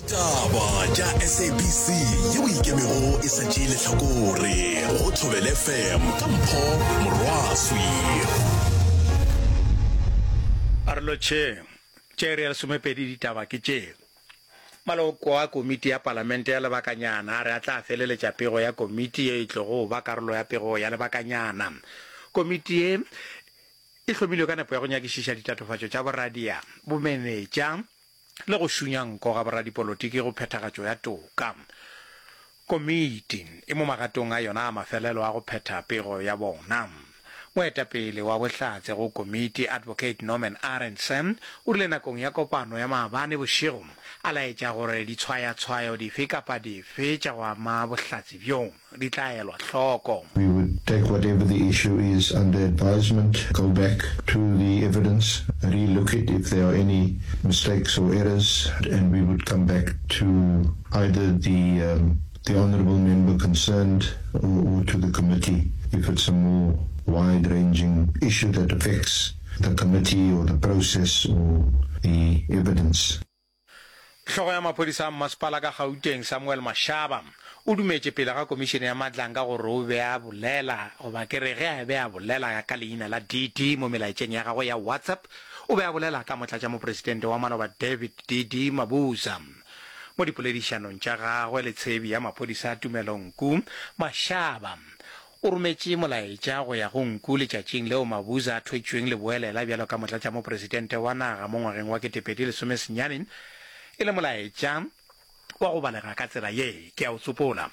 Ditaba tša SABC yeo e ikemego e sa tšee lehlakore go Thobela FM ka Mpho Morwaswi. A re lotšheng. Tše iri ya lesomepedi ditaba ke tše. Maloko a komiti ya palamente ya lebakanyana a re a tla feleletša pego ya komiti ye e tlogo ba karolo ya pego ya lebakanyana. Komiti ye e hlomilwe ka nepo ya go nyakišiša ditatofatšo tša boradia, bomenetša le go šunya nko ga boradipolotiki go phethagatšo ya toka. Komiti e mo magatong a yona a mafelelo a go phetha pego ya bona. Moetapele wa bohlatse go komiti, Advocate Norman Arendse, o rile nakong ya kopano ya maabane bošego a laetša gore ditshwayatshwayo dife kapa dife tša go ama bohlatse bjo di tla elwa hloko. We would take whatever the issue is under advisement, go back to the evidence, re-look it if there are any mistakes or errors, and we would come back to either the the honourable member concerned or, or to the committee if it's a more wide-ranging issue that affects the committee or the process or the evidence. Hlogo ya maphodisa a mmasepala ka Gauteng, Samuel Mashaba, o dumetše pele ga komišene ya Madlanga gore o be a bolela, goba ke re ge a be a bolela ka leina la DD mo melaetšeng ya gagwe ya WhatsApp, o be a bolela ka motlatšamopresidente wa maloba David DD Mabuza. Mo dipoledišanong tša gagwe le tshebi ya maphodisa Tumelo Nku, Mashaba o rometše molaetša go ya go Nku letšatšing leo Mabuza a thwetšweng leboelela bjalo ka motlatšamopresidente wa naga mo ngwageng wa 2019 e le molaetša wa go balega ka tsela ye, ke a o tsopola.